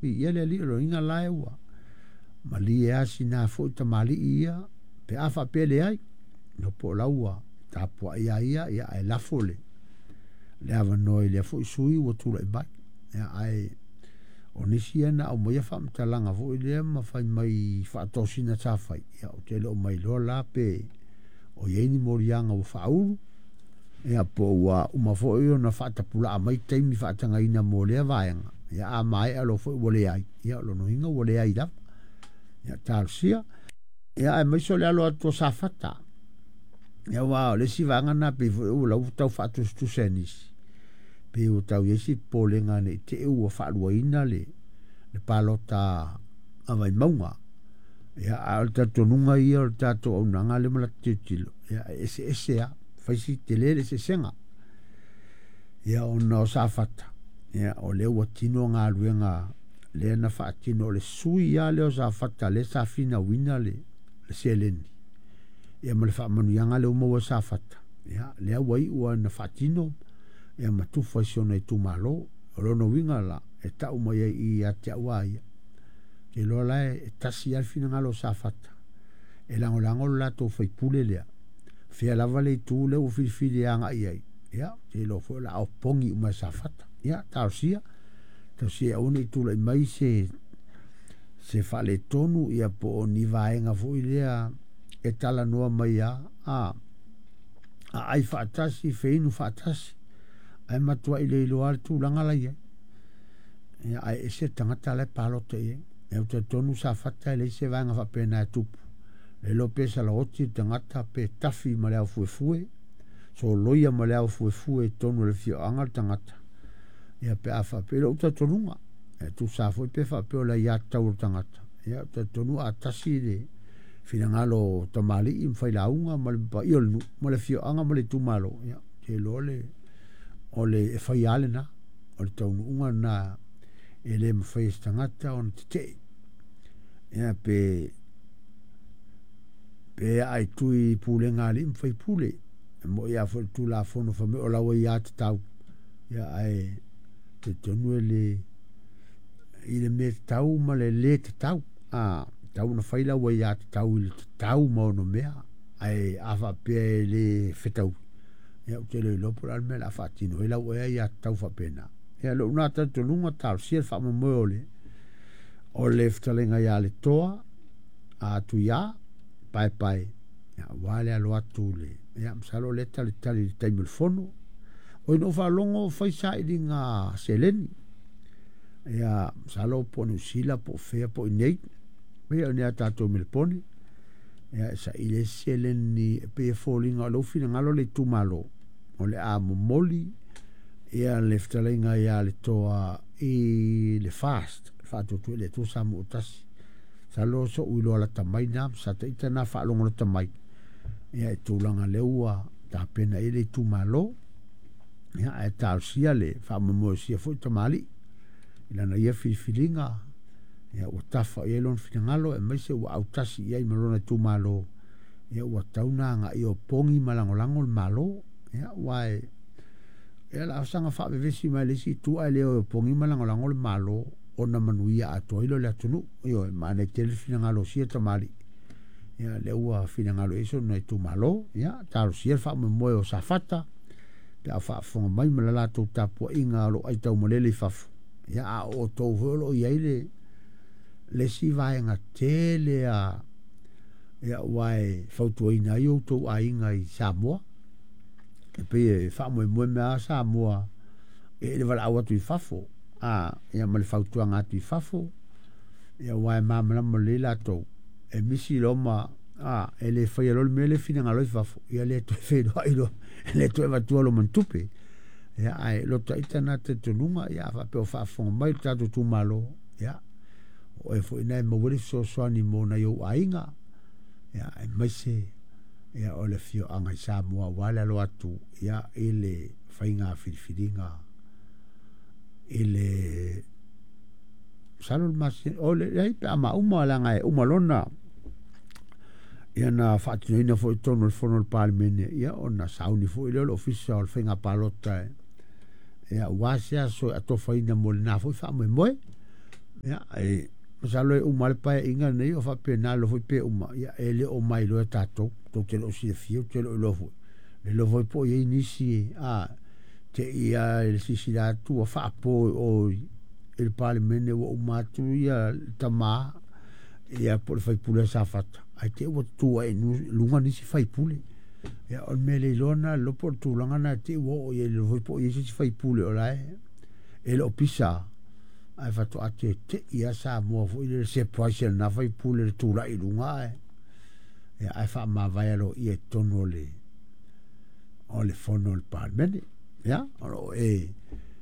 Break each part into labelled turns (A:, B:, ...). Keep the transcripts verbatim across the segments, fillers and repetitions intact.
A: Viia le Alii, o lona uiga la ua malie lava sina foi tamalii ia pe a faapea e leai, iloa po o la ua tapuai lava ia, ia ae lafo le, le avanoa i lea foi sui usufono ua tulai mai. Ia, ae o nisi ia na aumaia faamatalaga foi lea ma fai mai i faatosina sa fai, ia ou te le o mailoa la pe o i ai ni moliaga ua faaulu, ia po ua uma foi ona faatapulaa mai taimi faatagaina mo lea vaega, ia a maea loa foi ua leai, ia o lona uiga ua leai lava. Ia talosia. Ia aemaise o le alo atu o Safata. Ia aua o le isi vaega lena pei foi ua lau tau faatusatusa e nisi, pei ua tau i ai se popolega ne i te i ua faaluaina le, le palota a Vaimauga. Ia, a o le talitonuga ia o le tatou auaunaga lea ma lata tilotilo, ia e eseese lava, fai si tele le eseesega. Ia ona o Safata, ia o lea ua tino galuega lea na faatino, o le sui lava lea o Safata lea sa finauina le, le seleni, ia ma le faamanuiaga lea ua maua e Safata, ia lea ua iu lava ina faatino ia ma tufa i si ona itumalo. O lona uiga la, e tau mai ai i i ia te au a ia, ou te iloa la e tasi lava le finagalo o Safata, e lagolago le latou sui usufono lea, fea lava le itu lea ua filifili e agai i ai, ia, ou te iloa foi o le a opogi uma e Safata. Ia, talosia, talosia ia aua ne i tulai mai se se faaletonu ia po o ni vaega foi lea e talanoa mai lava, a aai faatasi, feinu faatasi, ae matuai le iloa lava le tulaga la e i ai. Ia, ae ese le tagata la e palota i ai. Ia, ou te talitonu Safata e leai se vaega faapena e tupu. Le iloa pe salaoti le tagata pe tafi ma le aufuefue, soloia ma le aufuefue i totonu o le afioaga le tagata, ia pe a faapea, i lou talitonuga, e tusa foi pe faapea o le aiatatau a le tagata, ia ou te talitonu a tasi le finagalo o tamalii ma failauga ma le paia o le nuu ma le afioaga ma le itumalo, ia, ou te iloa le, o le e fai lava lena, o le taunuuga lena e le mafai e se tagata ona tetee. Ia pe pe aa i tui i pulega a alii ma faipule, e moni lava foi i le Tulafono fai mai o lau aiatatau, ia ae talitonu e le i le mea tatau ma le le tatau. A tatau ona fai lau aiatatau i le tatau ma ono mea, ae a faapea e le fetaui, ia ou te le iloa po o le a le mea o le a faatino ai lau ea aiatatau faapena. Ia lou na talitonuga, talosia le faamoemoe o le o le fetalaiga ia Letoa a Tuia Paepae, ia, aua le alo atu le, ia masalo o lea e talitali i le taimi o le fono. Oi na ou faalogo o fai sailiga seleni, ia masalo po o Niu Sila po o fea po o i inei, pei o i inei ia tatou i Melepone, ia e saili ai se seleni e pei e foliga o lea ua finagalo le itumalo o le a momoli ia le fetalaiga ia Letoa i le FAST, Faatuatua i le Atua Samoa ua Tasi. Masalo o so'u iloa lata mai lena, sa ita na faalogo lata mai, ia i tulaga lea ua tapena i ai le itumalo, ia ae talosia le faamoemoe o sia foi tamalii i lana ia filifiliga, ia ua tafa i ai lona finagalo, aemaise ua autasi i ai ma lona itumalo, ia ua tatau ona agai e opogi ma lagolago le Malo. Ia aua e ia o le a saga faavevesi mai le isi itu ae le o e opogi ma lagolago le Malo ona manuia atoa ai lea o le atunuu. Ioe, manaia tele le finagalo o sia tamalii, ia lea ua finagalo i ai sona itumalo. Ia talosia le faamoemoe o Safata pe a faafofoga mai ma le latou tapuaiga o lo o aitaumalele i fafo. Ia a o outou foi o lo o i ai le le isi vaega tele a, ia aua e fautuaina ai outou aiga i Samoa, e pei e faamoemoe mai lava Samoa i le valaau atu i fafo, a ia ma le fautuaga atu i fafo, ia aua e malamalama lelei latou, e misi loa ma a e le faia loa le mea lea e finagalo ai fafo, ia le toe feiloai loa, le toe avatua loa ma ni tupe. Ia ae loto ita na talitonuga, ia a faapea o faafofoga mai le tatou itumalo, ia o oe foi lena e maua ai le fesoasoani mo nai ou aiga, ia aemaise ia o le afioaga i Samoa aua le alo atu ia i le faiga filifiliga i le masalo le masina o le leai pe a mauma leaga e uma lona ia na faatinoina foi i totonu o le fono a le Palemene, ia ona sauni foi lea o le Ofisa o le Faiga Palota ia aua se aso e atofaina mo lena foi faamoemoe. Ia, e masalo e uma le paeaiga lenei o faapena loa foi pe uma, ia e le o mailoa e tatou, tou te le o silafia, ou te le o iloa foi. Le iloa foi po o i ai nisi a te i lava i le silasila atu ua faapo i o i le Palemene ua uma atu ia le tama ia po o le sui usufono a Safata, ae te i ua tutu ae i luga nisi sui usufono. Ia o le mea le iloa lena, le iloa po o le tulaga lena te i ua oo i ai, le iloa foi po o i ai se isi sui usufono o la e e le o pisa, ae faatoa tete'i lava Samoa foi lele surprise e lena sui usufono i le tulai i luga ae ia ae faamavae aloaia i totonu o le o le fono a le Palemene. Ia, o lo o e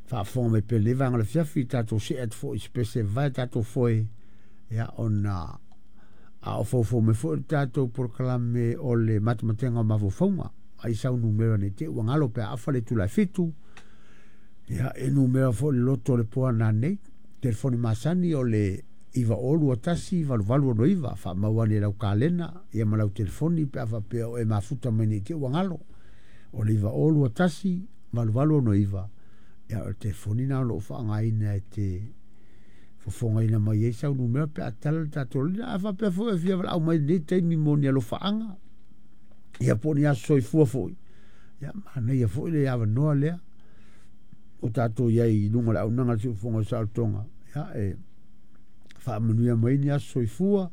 A: faafofoga mai pea i lenei vaega o le afiafi, tatou see atu foi i se pese e vavae tatou foe, ia ona a o foufou mai foi le tatou polokalame o le matematega o mafaufauga, ai sau numera ne i te i ua galo pe a afa le itula e fitu, ia e numera foi le loto o le po a nanei, telefoni masani o le iva o lua tasi valu valu ono iva, faamau ane i lau kalena ia ma lau telefoni pe a faapea o e mafuta mai ne i te i ua galo. O le iva o lua tasi valu valu ono iva, ia o le telefoni na o lo o faaaogaina e te fofogaina mai ai sau numera pe a tala le tatou lina. A faapea foi e fia valaau mai i lenei taimi mo ni alofaaga, ia po o ni aso soifua foi, ia manaia foi le avanoa lea o tatou i ai i luga o le auaunaga a le Siufofoga o le Saolotoga, ia e faamanuia mai ni aso soifua,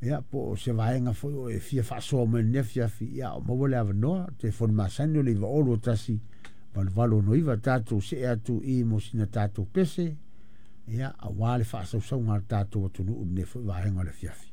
A: ia po o se vaega foi o e fia faasoa mai i lenei afiafi, ia o maua le avanoa, telefoni masani o le iva o lua tasi valu valu ono iva, tatou see atu i mo sina tatou pese, ia aua le faasausauga a le tatou atunuu i lenei foi vaega o le afiafi.